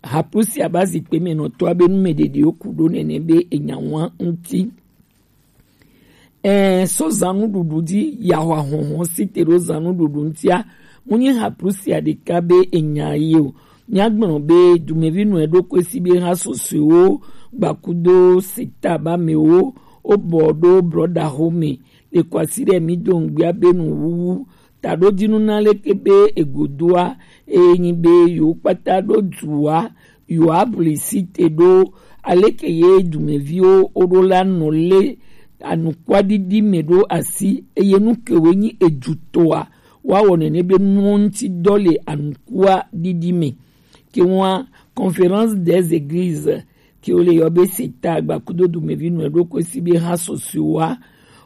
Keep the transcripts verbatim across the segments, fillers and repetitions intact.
Haplusia ba zikpe mɛ nɔtɔ abe nu mɛ ɖeɖe wo ku ɖo nɛnɛ be enya wan ŋuti. Ɛɛ, so zannuɖuɖu ji yahwa hɔnhɔn si te ɖo zannuɖuɖu ŋutia, mu nyi haplusia ɖeka be enya ye o. Míagblɔ be dumevi nɔe ɖo kɔe si be ha sɔsɔewo gbakudo seta ba mɛwo wo bɔ ɖo brɔda xo mɛ le kɔasi ɖe mi do ŋgbia be nu wuwu taɖo dinu na leke be egodoa, eye nyi be yewo kpata ɖo dua, yewo abli si te ɖo, aleke ye dumeviwo wo ɖo la nɔ le anukwaɖiɖi mɛ ɖo asi, eye nu kewoe nyi edutɔa, woawɔ nɛnɛ be nuwo ŋuti dɔ le anukwaɖiɖi mɛ. Ke ŋua Conférence des Églises, ke wo le yɔ be seta gbakudo dumevi nɔe ɖo kɔe si be ha sɔsɔewoa,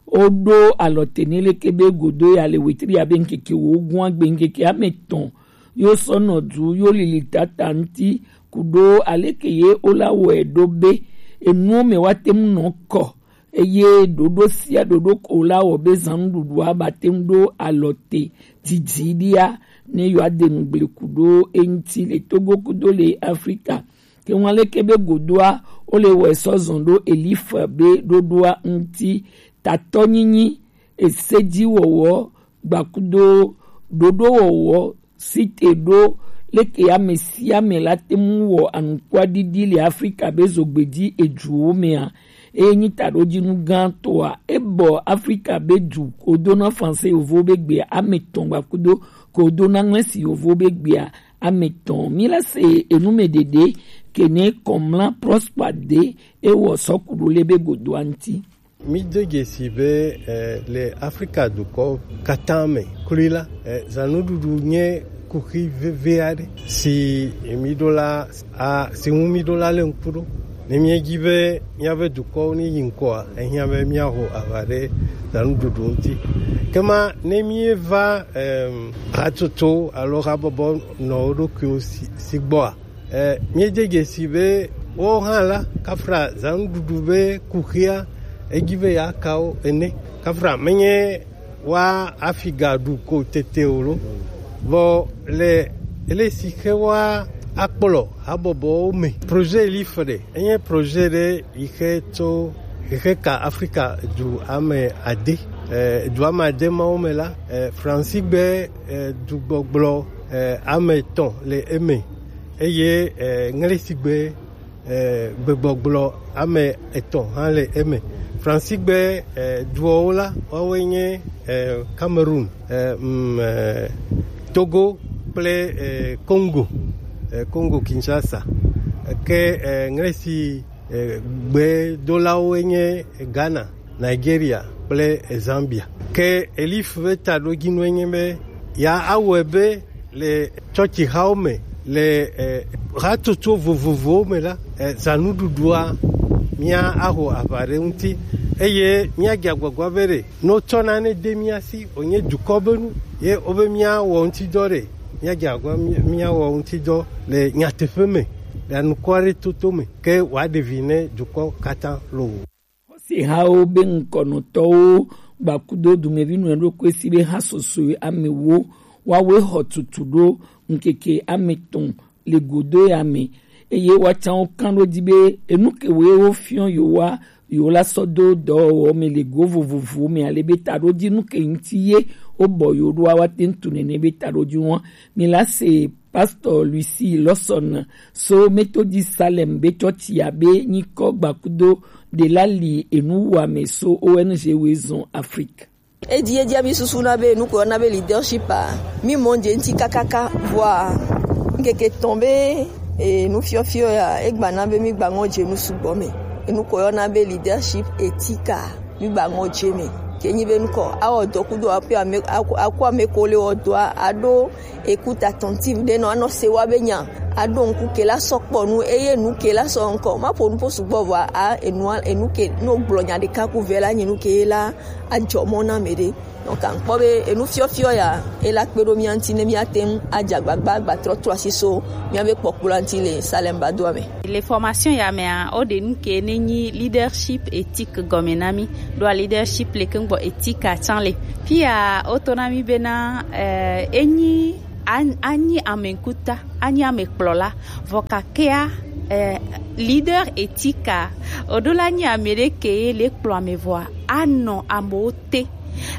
wo ɖo alɔ te nɛ leke be godo ya le wetri ya be ŋkeke wo gua gbe ŋkeke ame tɔn yo sɔ nɔ du yo lili tata ŋuti, ku ɖo aleke ye wo la wɔe ɖo be enuwo mɛ wa te ŋu nɔ kɔ, eye ɖoɖo sia ɖoɖo ko la wɔ be zannuɖuɖua ba te ŋu ɖo alɔ te didi ɖia ne yewoa de nu gble ku ɖo eŋuti le Togo kudo le Afrika. Ke ŋu aleke be godoa wo le wɔe sɔ zɔn ɖo Elifa be ɖoɖoa ŋuti, tatɔnyinyi, esejiwɔwɔ, gbakudo ɖoɖowɔwɔ, si te ɖo leke ame sia ame la te ŋu wɔ anukwaɖiɖi le Afrika be zogbeji eduwo mɛa, eye nyi taɖojinu gãtɔa, ebɔ Afrika be du ko do na Fransɛ yovo be gbea ame tɔn gbakudo ko do na Ŋlɛsi yovo be gbea ame tɔn. Mi la se enu mɛ ɖeɖe ke ne kɔmla Prosper de ewɔ sɔku ɖo le be godoa ŋuti. Mi do dzesi be eh, le Afrika dukɔ katã me kloe la, eh, zannuɖuɖu nye kuxi vevi aɖe si mi ɖo la a si ŋu mi ɖo la le ŋku ɖo. Ne míedi be míaƒe dukɔwo ne yi ŋkɔa, ehiã be míaho aʋa ɖe zannuɖuɖu ŋuti. Ke ma ne míeva em, hatsotso alo habɔbɔ nɔ wo ɖokuiwo si, si gbɔa, eh, míede dzesi be wo hã la kafra zannuɖuɖu be kuxia edi be yeaka wo ene. Kafra menye wa afi ga ɖu ko tete o lo. Vɔ le ele si xe wa akplɔ habɔbɔwo me. Projet Elif ɖe, enye projet ɖe yi xe tso yi xe ka Afrika du ame ade. Eh, du ame ade mawo me la, eh, Fransi gbe eh, dugbɔgblɔ eh, ame etɔ̃ le eme eye eh, Ŋlesi gbe eh, gbegbɔgblɔ ame etɔ̃ hã le eme. Fransi gbe eh, duɔwo la, woawoe nye eh, Cameroon, eh, mm, eh, Togo kple eh, Congo, eh, Congo Kinshasa. Ke eh, Ŋlesi eh, gbedolawoe nye Ghana, Nigeria kple Zambia. Ke Elif ƒe taɖodzinue nye be ya awɔe be le tsɔtsixawo me, le eh, hatsotso vovovowo me la, eh, zanuɖuɖua mía aho aʋa ɖe ŋuti eye míadze agbagba be ɖe ne wotsɔ nane de mía si wònye dukɔ be nu ye wobe míawɔ ŋutidɔ ɖe, míadze agbagba mí- míawɔ ŋutidɔ le nyateƒe me, le anukua ɖe toto me ke wòaɖe vi ne dukɔ katã loo. Xɔsehawo be ŋkɔnɔtɔwo gbakudo dumevi nɔe ɖokui si be ha sɔsɔe ame wo woawoe xɔ tutu ɖo ŋkeke ame tɔn le godo ya me, eye woatsã wo kan ɖo dzi be enu ke woe wofiɔ yewoa yewo la sɔ do dɔwɔwɔ me le go vovovowo me ale be taɖodzi nu ke ŋuti ye wobɔ yewo ɖoa woate ŋu tu nene be taɖodzi ŋua mi la se Pastor Lucy Lawson so Methodist Salem be tsɔtsi abe nyikɔ gbakudo ɖe la li enu wa me so O N G woezɔn Afrique. Edi edia mi susu na be nuko yɔna be leadership a mi mɔ dze ŋti kakaka vɔa ŋkeke tɔn be e, nufiɔfiɔ ya egba na be mi gba ŋɔ dze nu sugbɔ me. Enuko yɔna be leadership ethique a mi gba ŋɔ dze me. Ke nyi be nukɔ awɔ dɔ kudo aƒe ame aku ame ko le wɔ dɔa aɖo écoute attentive ɖe nɔ anɔ se wa be nya aɖo ŋku ke la sɔ kpɔ nu eye nu ke la sɔ ŋkɔ ma ƒo nu ƒo sugbɔ vɔa a enua enu ke no gblɔ nya ɖeka ku vɛ la nyi nu ke la adzɔ mɔ na me ɖe. Donc ankpɔ be enu fiɔfiɔ ya ela kpe ɖo mía ŋuti ne míate ŋu adze agbagba agbatrɔ trɔ asi so míabe kpɔkplɔa ŋuti le Salem Badoa me. Le formation ya mea, woɖe nu ke ne nyi leadership éthique gɔme na mí. Ɖoa leadership le ke ŋgbɔ éthique atsã le. Fia woto na mí bena eh, enyi a- anyi ame ŋkuta, anyi ame kplɔla, vɔ kakea, eh, leader éthique a, oɖo la nyi ame ɖe ke ye le kplɔ ame vɔa, anɔ amewo te.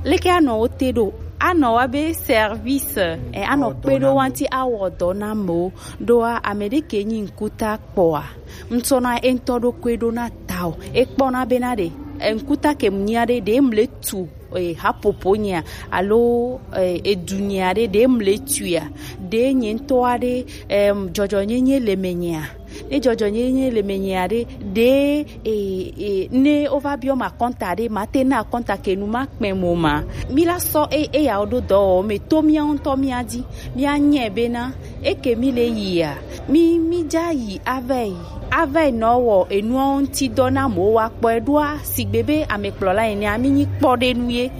Leke anɔ wo te ɖo? Anɔ wa be service, eh, anɔ kpe ɖo wa ŋuti awɔ dɔ na amewo. Ɖoa ame ɖe ke nyi ŋkuta kpɔa, ŋtsɔna eŋutɔ ɖokui ɖo na ta o. Ekpɔna bena ɖe, eh, ŋkuta ke mu nyia ɖe, ɖe mle tu, eh, hapopo nyia, alo, eh, edu nyia ɖe, ɖe mle tuia, ɖe nye ŋutɔ aɖe, em, dzɔdzɔnyenye le me nyia. Ne dzɔdzɔnyenye le me nyia ɖe, ɖe, eh, eh, ne wova biɔ ma kɔnta ɖe, ma te na kɔnta ke nu ma kpɛ mo ma. Mi la sɔ e- eyawo ɖo dɔwɔwɔ me to mía ŋutɔ mía dzi. Mía nyɛ bena eke mi le yia, mi mi dza yi ava yi, ava yi nɔ wɔ enuawo ŋuti dɔ na mowo wa kpɔe ɖoa, sigbe be amekplɔla enea, mi nyi kpɔɖenu ye.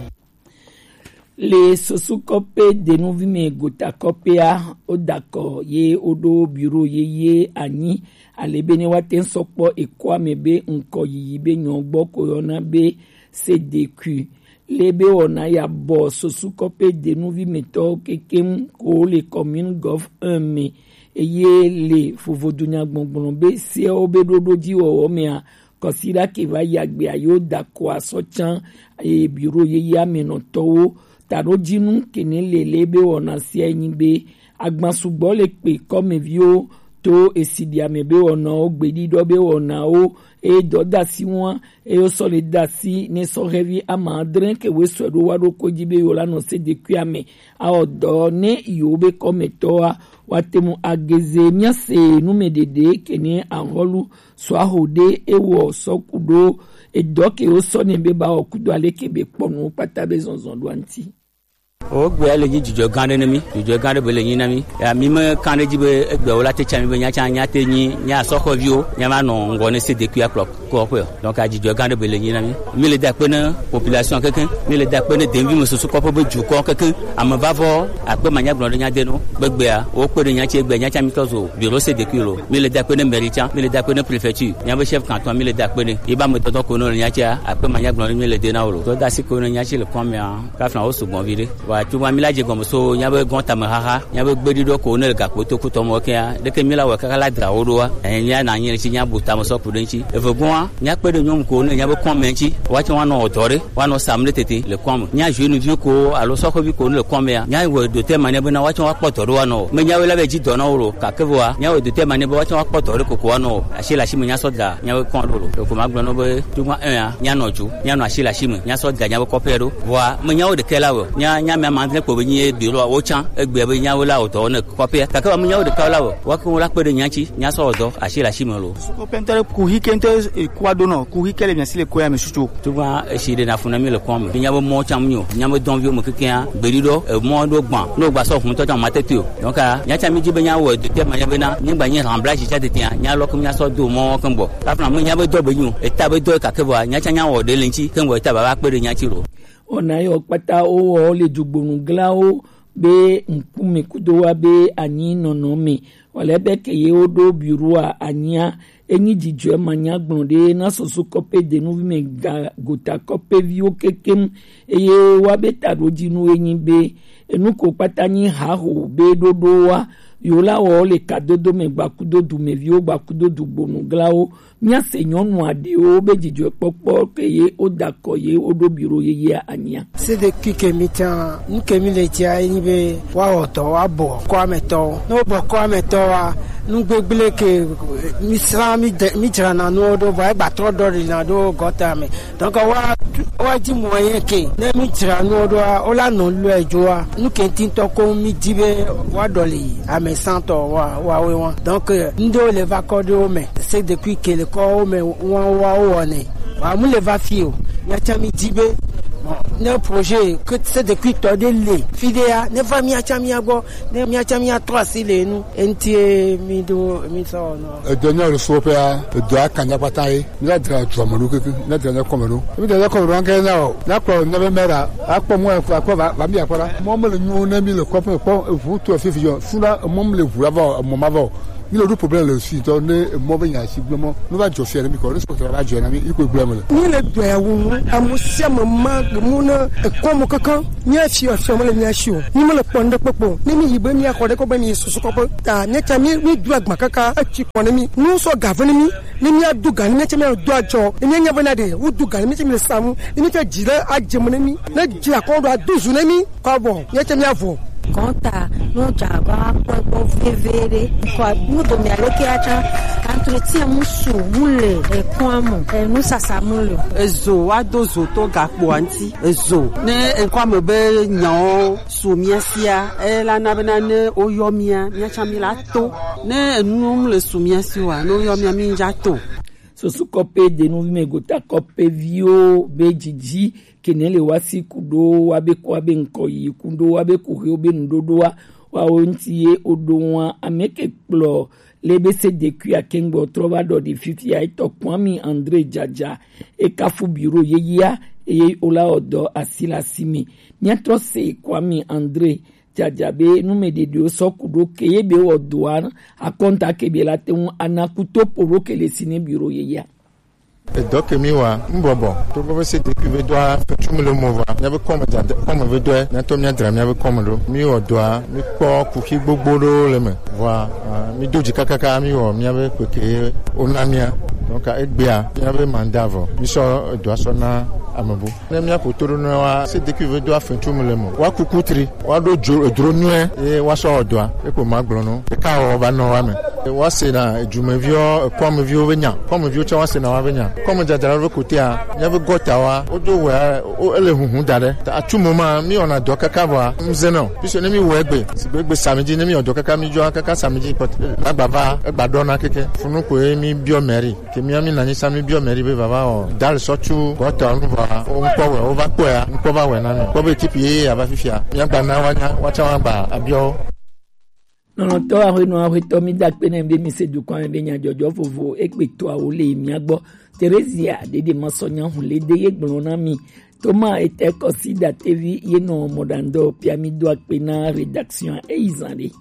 Le sosu kɔpe denuvi me gota kɔpea, wo da kɔ ye wo ɖo biro ye ye anyi, ale be ne wa te sɔ kpɔ ekɔ ame be ŋkɔ yiyi be nyɔ gbɔ ko yɔna be sedekui. Le be wɔna ya bɔ sosu kɔpe denuvi metɔ kekem ko le commune gov un me. Eye le vovodo nyagbɔgblɔ be sewo be ɖoɖo dzi wɔwɔ mea, kɔsiɖa ke va yi agbea yewo da ko asɔ can, eye biro yeye amenɔtɔwo taɖo dzinu kene le le be wɔna sia nyi be agban sugbɔ le kpe kɔmeviwo to esiɖi ame be wɔnawo, gbeɖiɖɔ be wɔnawo, eye dɔdasi wa, eye wosɔ le dasi ne sɔhɛvi ama adre ke wesɔe ɖo wa ɖo ko dzi be yewo la nɔ sedekui ame awɔ dɔ ne yewo be kɔmetɔa wa te mu ageze. Mía se nu me ɖeɖe kene ahɔlu sɔ aho ɖe ewɔ sɔ ku ɖo edɔ ke wo sɔ ne be ba wɔ kudo ale ke be kpɔ nuwo kpata be zɔnzɔn ɖo anti. O gbea le nyi dzidzɔ gã ɖe ne mi, dzidzɔ gã ɖe be le nyi na mi. Ya mi me kan ɖe dzi be egbe wo la te tsa mi be nya tsa nya te nyi nya sɔxɔviwo nya ma nɔ ŋgɔ ne sedekui akplɔ kɔƒe o. Donc adzidzɔ gã ɖe be le nyi na mi. Mi le da kpe ne population keke, mi le da kpe ne denvi me susu kɔƒe be dukɔ keke. Ame va vɔ akpe manya gblɔ ɖe nya de no. Be gbea wo kpe ɖe nya tse gbea nya tsa mi tɔ zo bureau sedekui lo. Mi le da kpe ne mairie tsa, mi le da kpe ne préfecture, nya be chef canton mi le da kpe ne. Yi ba me tɔtɔ ko no le nya tsa akpe manya gblɔ ɖe mi le de na wo lo. Tɔ da si ko ne nya tse le kɔmea. Kafla wo sugbɔ vi ɖe. Wa tugba mi la dze gɔme so nya be gɔn tame xaxa, nya be gbeɖiɖɔ ko ne le gakpo to kutɔ mɔ kea, ɖeke mi la wɔ kaka la dra wo ɖoa. Enya na nyi le tsi nya bu tame sɔ ku ɖe ŋtsi. Eve gɔn nya kpe ɖe nyɔnu ko ne nya be kɔn mɛ ŋtsi. Wa tsɔ wa nɔ dɔ ɖe, wa nɔ sam ɖe tete le kɔn me. Nya jeune vi ko alo sɔxɔvi ko ne le kɔn mɛa, nya wɔ do te ma ne be na wa tsɔ wa kpɔ dɔ ɖe wa nɔ. Me nya we la be dzi dɔ na wo lo, kake vɔa, nya wɔ do te ma ne be wa tsɔ wa kpɔ dɔ ɖe koko wa nɔ. Asi le asi me nya sɔ da, nya be kɔn ɖo lo. Ko ma gblɔ no be tugba un a, nya nɔ ju, nya nɔ asi le asi me, nya sɔ da nya be kɔƒe ɖo. Vɔa, me nyawo ɖekɛ la wɔ. Nya, nya mea ma ne kpɔ be nyi ye bi lo wo tsan, egbe be nyawo la wɔ dɔ ne kɔƒea. Kake wa me nyawo ɖeka la wɔ. Wa ko la kpe ɖe nya tsi, nya sɔ wɔ dɔ, asi le asi me lo. Kɔƒe ŋutɔ ɖe kuxi ke ŋutɔ, e, kua do nɔ, kuxi ke le mia si le koya me susu. Tugba esi ɖe na fu na mi le kɔn me. Nya be mɔ tsan mi o, nya be dɔn vi o me kekea, gbeɖiɖɔ, e, mɔ ɖo gban, no gba sɔ hun tɔ tsan ma tete o. Donc, a, nya tsa mi dzi be nya wɔ de te ma nya be na, nyi gba nyi remplacé tsa tete a, nya lɔ ke mi nya sɔ do mɔ ke gbɔ. Kafla me nya be dɔ be nyi o, eta be dɔ kake vɔa, nya tsa nya wɔ ɖe le ŋtsi, ke gbɔ eta baba kpe ɖe nya tsi lo. Wɔna yɔ kpata wowɔ le dugbonu glawo be ŋkume kudo wa be anyi nɔnɔ me. Wale be ke ye wo ɖo bureau a anyia, enyi dzidzɔe manya gblɔ ɖe na soso kɔƒe denuvi me ga gota kɔƒe viwo kekem, eye wa be taɖodzinu enyi be enu ko kpata nyi haho be ɖoɖo wa, yo la wɔ le kadodo me gbakudo dumeviwo, gbakudo dugbonu glawo, Míase nyɔnu aɖewo be dzidzɔkpɔkpɔ ke ye woda kɔ ye woɖo biro yeyea anyia. Sedekui ke mi tsa, nu ke mi le tsia ye nyi be woawɔ dɔ, woabɔ kɔametɔwo. Ne wobɔ kɔametɔwoa, nu gbegblẽ ke mi srã, mi de, mi dzrana nuwo ɖo, vɔ egba trɔ ɖɔlina ɖo gɔta me. Donc wa, wa dzi moyen ke ne mi dzra nuwo ɖoa, wola nɔ lɔe dzoa, nu ke ŋuti ŋutɔ ko mi di be woaɖɔli ame sãtɔ wa, woawoe wa. Donc, euh, ŋɖewo le va kɔ ɖe wo me. C'est depuis ke le kɔ wo me wa, wa wo wɔnɛ. Wa mu le va fi o. Mía tsã mi di be, bon, ne projet ke c'est depuis tɔ ɖe le fi ɖea, ne va mía tsã mía gbɔ, ne mía tsã mía trɔ asi le enu. Eŋuti mi ɖo, mi sɔ wɔ nɔ. Edɔ nya le so ƒea, edɔ aka nya kpata ye. Míla dzra dua me ɖo keke, míla dzra nya kɔme ɖo. Míla dzra nya kɔme ɖo, anke na o. Na kpɔ nya be mera, akpɔ mɔ akpɔ va, va mi akpɔ la. Mɔ me le nyo ne mi le kɔƒe kpɔ eʋu to fifi yɔ. Suna emɔ me le ʋu la va o, emɔ ma va o. Mi le ɖo problème le si tɔ ne emɔ be nya si gblẽ mɔ. Ne va dzɔ fia ne mi kɔ, ne sɔkɔtɔ va dzɔ na mi, iko gblẽ me le. Mi le dɔe wu nu, ame sia ame ma gbe mu ne ekɔ mo kankan. Mi afi afi me le mi asi o. Mi me le kpɔ ne kpekpe o. Ne mi yi be mi axɔ ɖe kɔ be mi susu kɔ be ta mi tsa mi mi du agba kaka etsi kɔ ne mi. Nu sɔ ga ve ne mi. Ne mi adu ga ne mi tsa mi adu adzɔ. Ne mi nya be na de, wo du ga ne mi tsa mi le samu. Ne mi tsa dzi le adze me ne mi. Ne dzi akɔ ɖo adu zu ne mi. Kɔ bɔ, míetsɛ míavɔ. Kɔnta, no dza va kpɔ gbɔ veve ɖe. Kɔ, nu do mia leke atsa, kantri tia mu su, mu le, ekɔn amu, enu sasa mu le. Ezo, wa do zo to gakpo anti. Ezo, ne ekɔ ame be nyawo su mia sia, e la na bena ne woyɔ mia, mia tsa mi la to. Ne enu mu le su mia si wa, ne woyɔ mia, mi dza to. Susu kɔpe denuvi me gota kɔpe viwo be dzidzi kene le wa si kuɖo wa be kɔ wa be ŋkɔ yi kuɖo wa be kuxiwo be nuɖoɖoa wa wo ŋuti ye woɖo ŋua ame ke kplɔ le be se dekui akengbe trɔ va ɖɔ ɖi fifia etɔ Kwame Andre Dzadza ekafu biro yeyea eye wola ɔdɔ asi le asi me. Míatrɔ se Kwame Andre Dzadza be numeɖeɖewo sɔ ku ɖo ke ye be wɔ doa akɔnta ke be la te ŋu ana kuto po ɖo ke le si ne biro yeyea. Edɔ ke mi wa mbɔbɔ to gbɔ se depuis be doa fetsu mi le mo va mia be kɔme dzadze kɔme be doa mia tɔ mia dra mia be kɔme ɖo mi wɔ doa mi kpɔ kuxi gbogbo ɖo le me vɔa mi do dzi kakaka mi wɔ mia be kpeke ona mia donc egbea mia be manda vɔ mi sɔ edoa sɔ na amebu. Ne míaƒo to ɖo na wa, se deki ve do afɛn tso me le me. Wa kuku tri, wa ɖo dzo edro nyuie, ye wa sɔ wɔ dɔa, ye ko ma gblɔ no. Eka wɔ va nɔ wa me. Wa se na edumeviwo, ekɔmeviwo be nya. Kɔmeviwo tsɛ wa se na wa be nya. Kɔme dzadzra ɖe kotea, míabe gɔta wa, wo do wɛ, wo ele huhu da ɖe. Ta atu mo ma, mi wɔna dɔ kaka vɔa, mze nɔ. Puisque ne mi wɔ egbe, sigbe egbe sami dzi, ne mi wɔ dɔ kaka mi dzɔa, kaka sami dzi, pɔt, la gba va, egba ɖɔna keke. Funu ko ye mi biɔ mairie. Ke mía mi nanyi sa mi biɔ mairie be vava o. Dal sɔ tsu gɔtɔ nu vɔ o ŋkpɔ wɛ o va kpɔe a ŋkpɔ va wɛ na mi. Kpɔ be ekipi ye ava fifia. Mía gba na wa nya wa tsa wa gba abiɔ. Nɔnɔtɔ aƒenɔ aƒetɔ mi da kpe ne be mi se dukɔ me be nyadzɔdzɔ vovo ekpe toa wo le mía gbɔ. Teresia ɖeɖe ma sɔ nya hu le de ye gblɔ na mi. Toma ete kɔsi datevi ye nɔ mɔɖandɔ pia mi do akpe na rédaction eyi zan ɖe.